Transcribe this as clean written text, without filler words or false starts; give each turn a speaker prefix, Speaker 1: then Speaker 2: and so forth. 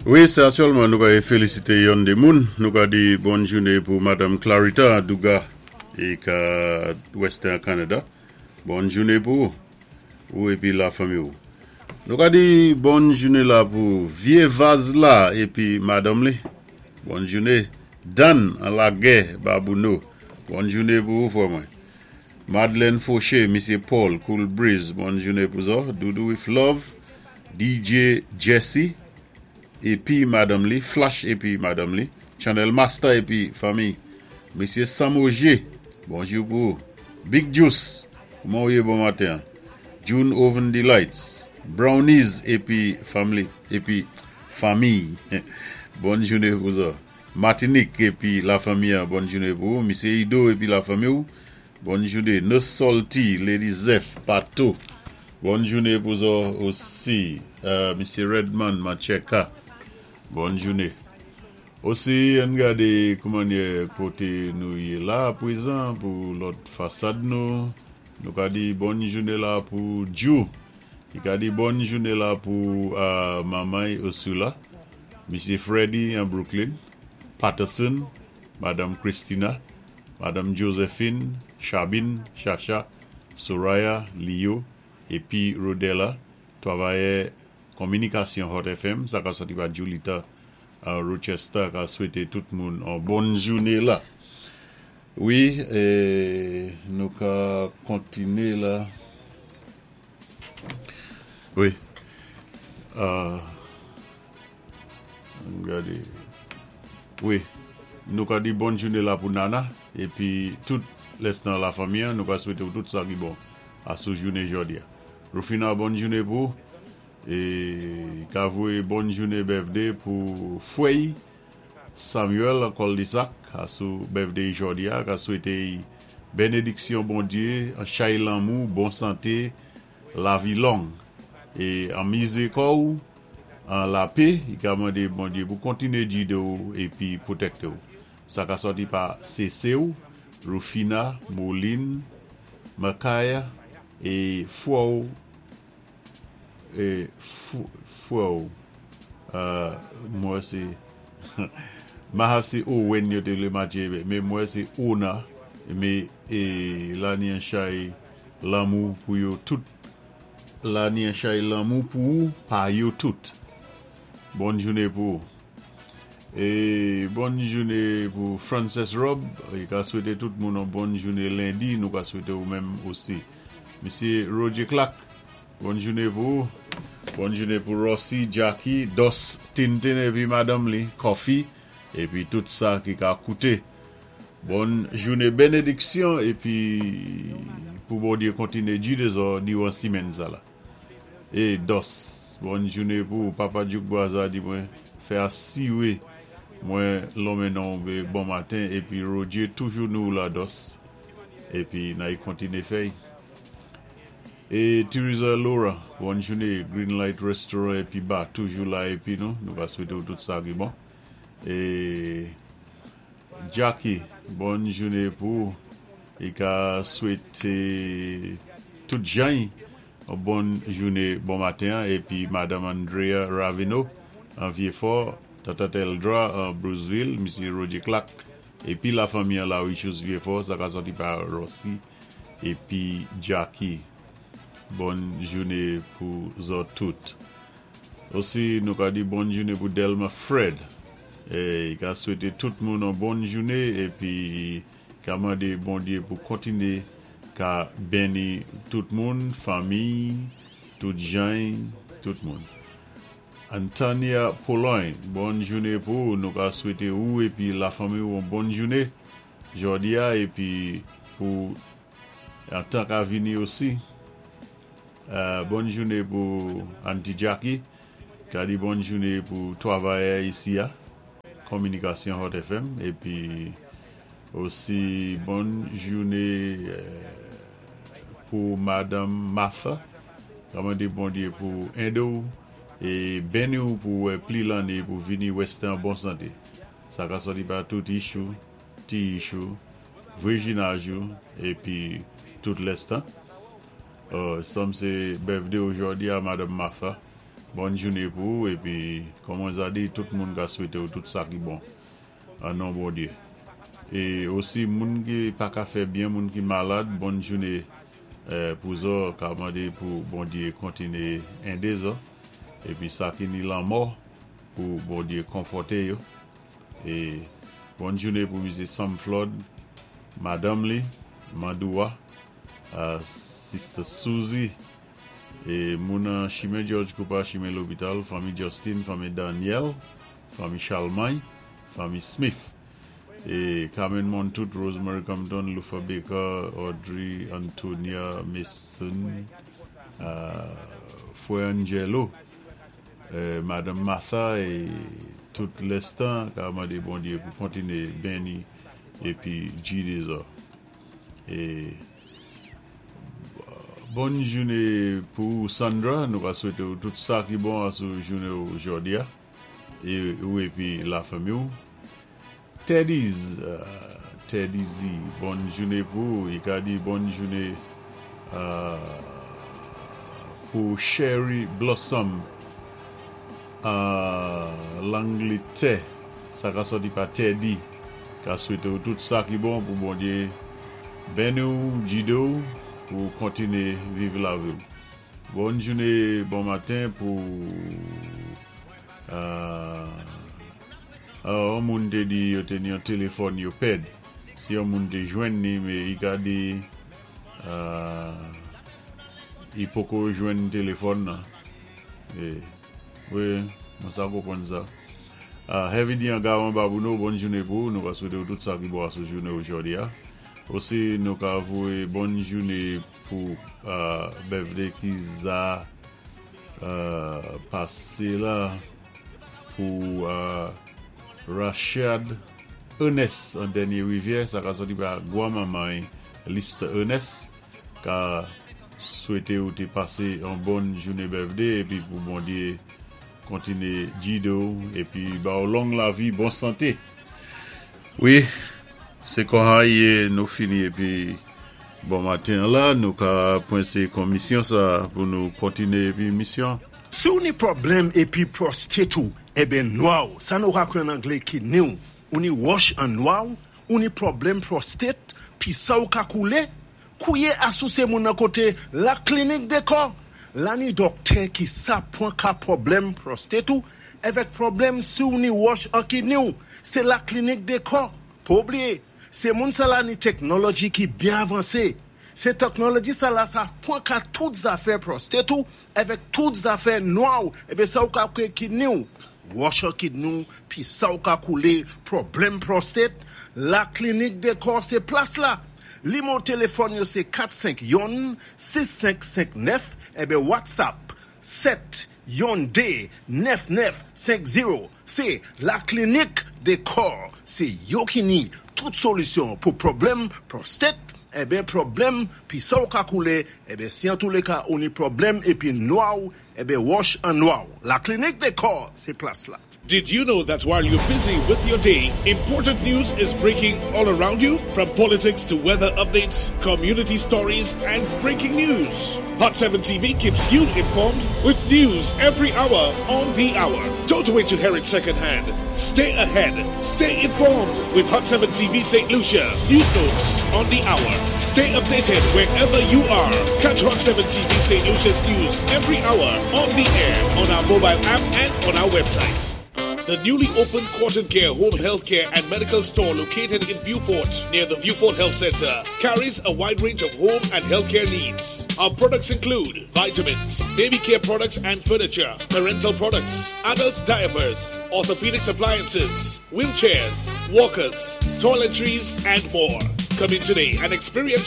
Speaker 1: Wi, sé aktyèlman nou ka félisité yon dé moun. Nou ka di bòn jouné pou Madanm Clarita Duga é ka Western Canada. Bòn jouné pou ou épi la fanmi ou. Nou ka di bòn jouné la pou Vyé Vaz la épi madanm li. Bòn jouné. Dan an lagè Babouno. Bòn jouné pou ou fwè mwen. Madeleine Fauché, Misyé Paul, Cool Breeze, bòn jouné pou zò. Doudou with Love, DJ Jesse, épi madanm li, Flash épi madanm li, Channel Master épi fanmi. Misyé Sam Auger, bonjou pou ou. Big Juice, kouman ou yé bon maten an? June Oven Delights, Brownies épi family, épi fanmi. Bòn jouné pou zò. Martinique épi la fanmi an, bòn jouné pou ou. Misyé Ido épi la fanmi ou. Bòn jouné. No Salty, Lady Zeph, Pato. Bòn jouné pou zò osi. Misyé Redman, Mancheka. Bòn jouné. Osi, ann gadé koumannyè koté nou yé la pwézan pou lòt fasad nou. Nou ka di bòn jouné la pou Djou. Li ka di bòn jouné la pou manman Ursula, Misyé Freddy an Brooklyn, Patterson, Madanm Christina, Madanm Josephine, Chabine, Chacha, Soraya, Leo, épi Rodella, twavayè Kominikasyon Hot FM, sa ka sòti pa Julita an Rochester ka swété tout moun on bòn jouné la. Wi, nou ka kontiné la. Wi. Ann gadé. Wi. Nou ka di bòn jouné la pou Nana épi tout lès nan la fanmi an, nou ka swété ou tout sa ki bon asou jouné jòdi a. Rufina bòn jouné pou ou é ka voyé bòn jouné birthday pou fwè'y Samuel an Cul-de-sac asou birthday jòdi a, ka swété'y bénédiksyon Bondyé, an chay lanmou, bon santé, lavi long é anmizé kò'w an lapé, i ka mandé Bondyé pou kontiné gide'w épi pwotèkte'w. Sa ka sòti pa Sese'w, Rufina, Moline, Makaya é fwè'w é fwè'w mwen sé Mahav sé Owen yo té vlé matché mé mwen sé Ona mé é la ni an chay lanmou pou yo tout la ni an chay lanmou pou ou pa yo tout. Bòn jouné pou ou. É bòn jouné pou Frances Rob e ka swété tout moun on bòn jouné lendi nou ka swété ou menm osi. Misyé Roger Clark bòn jouné pou ou. Bòn jouné pou Rossy, Jackie, Dos Tintin épi madanm li Coffee épi tout sa ki ka kouté. Bòn jouné bénédiksyon épi pou Bondyé kontiné gidé zò diwan simenn sa la. E Dos bòn jouné pou ou papa Djouk Brazza di mwen fè asiwé mwen lonmen non w bon maten épi Roger toujou nou la Dos épi nay kontiné fèy. E Theresa Laura bòn jouné Green Light Restaurant épi bar toujou la épi nou nou va swété w tout sa ki bon. E Jacky bòn jouné pou ou e ka swété tout jany on bòn jouné bon maten an épi Madanm Andrea Raveneau an Vieux-Fort, Tata Teldra an Bruceville, Misye Roger Clark épi la fanmi an Larichous Vieux-Fort sa ka sòti pa Rossy épi Jacky bòn jouné pou zòt tout. Osi nou ka di bòn jouné pou Delma Fred e ka swété tout moun on bòn jouné épi ka mandé Bondyé pou kontiné ka benni tout moun, fanmiy, tout jany, tout moun. Antania Pologne bòn jouné pou ou, nou ka swété ou épi la fanmi ou on bòn jouné jòdi a épi pou an tan ka vini osi. Bòn joune pou Aunty Jackie, ka di bòn joune pou twavayè isi a, Kominikasyon Hot FM, epi osi bòn joune pou Madanm Martha, ka mande Bondye pou ede w e beni w pou wè pli lanne pou vini Western an bon sante. Sa ka sòti pa tout issue, ti issue, vrijinaj ou epi tout lès tan. Sanm se birthday ou jodi a Madanm Martha. Bòn jouné pou ou épi kòm mwen sa di, tout moun ka swété ou tout sa ki bon an non Bondyé. É osi moun ki pa ka fè byen, moun ki malad, bòn jouné pou zò, ka mandé pou Bondyé kontiné édé zò épi sa ki ni lanmò pou Bondyé konfòté yo. É bòn jouné pou Misyé Sam Flood, madanm li, Mandoua, Sister Suzy, é moun an chimen George Cooper, chimen lopital, fanmi Justin, fanmi Daniel, fanmi Charlemagne, fanmi Smith. É Carmen Montout, Rosemary Compton, Lufa Baker, Audrey Antonia Mason, Foué Angelo, Madanm Martha é tout lèstan ka mandé Bondyé pou kontiné béni épi gidé zò. É bòn jouné pou Sandra, nou ka swété ou tout sa ki bon asou jouné ou jòdi a é ou épi lafanmi ou. Teddy's Teddy Z, bòn jouné pou ou. I ka di bòn jouné pou Sherry Blossom Langletè, sa ka sòti pa Teddy, ka swété ou tout sa ki bon pou Bondyé béni ou, gidé ou pou kontiné viv lavi ou. Bòn jouné, bon maten pou yon moun té di yo té ni yon téléfòn yo pèd. Si yon moun té jwenn ni, mé i ka di i poko jwenn téléfòn nan. Wi, mwen sa konpwann sa. Heavy D an Gawan Babouno, bòn jouné pou ou. Nou ka swété ou tout sa ki bon asou jouné ou jòdi a. Osi nou ka voyé bòn jouné pou birthday ki za pasé la pou Rashad Ernest an Dènyé Rivyè, sa ka sòti pa gwan manman Lista Ernest, ka swété ou té pasé yon bòn jouné birthday épi pou Bondyé kontiné gidé ou épi ba ou long lavi, bon santé. Wi, sé konsa i yé, nou fini épi bon maten an la, nou ka pwensé kon misyon sa pou nou kontiné épi misyon.
Speaker 2: Si ou ni pwoblèm épi prostate ou, enben nwa ou, sa nou ka kwé an anglé kidney ou, ou ni wòch an nwa ou, ou ni pwoblèm prostate, pi sa ou ka koulé, kouwé asou sé moun nan koté La Clinique des Corps, la ni dòktè ki sa pwan ka pwoblèm prostate ou, èvèk pwoblèm si ou ni wòch an kidney ou, sé La Clinique des Corps. Pa oubliyé, sé moun sa la ni teknoloji ki byen avansé. Sé teknoloji sa la sa pwan ka tout zafè prostate ou, èvèk tout zafè nwa ou, enben sa ou ka kwé kidney ou. Wòch an kidney ou, pi sa ou ka koulé, pwoblèm prostate, La Clinique des Corps sé plas la. Nimewo téléfòn yo sé 451 6559 enben WhatsApp 7 yon 2 9950. Sé La Clinique des Corps, sé yo ki ni tout solisyon pou pwoblèm prostate, enben pwoblèm pi sa ou ka koulé, enben si an tou lé ka ou ni pwoblèm épi nwa ou, enben wòch an nwa ou. La Clinique des Corps, sé plas la.
Speaker 3: Did you know that while you're busy with your day, important news is breaking all around you? From politics to weather updates, community stories, and breaking news. Hot 7 TV keeps you informed with news every hour on the hour. Don't wait to hear it secondhand. Stay ahead. Stay informed with Hot 7 TV St. Lucia. News notes on the hour. Stay updated wherever you are. Catch Hot 7 TV St. Lucia's news every hour on the air, on our mobile app, and on our website. The newly opened Quarton Care Home Healthcare and Medical Store located in Vieux Fort near the Vieux Fort Health Center carries a wide range of home and healthcare needs. Our products include vitamins, baby care products and furniture, parental products, adult diapers, orthopedic appliances, wheelchairs, walkers, toiletries, and more. Come in today and experience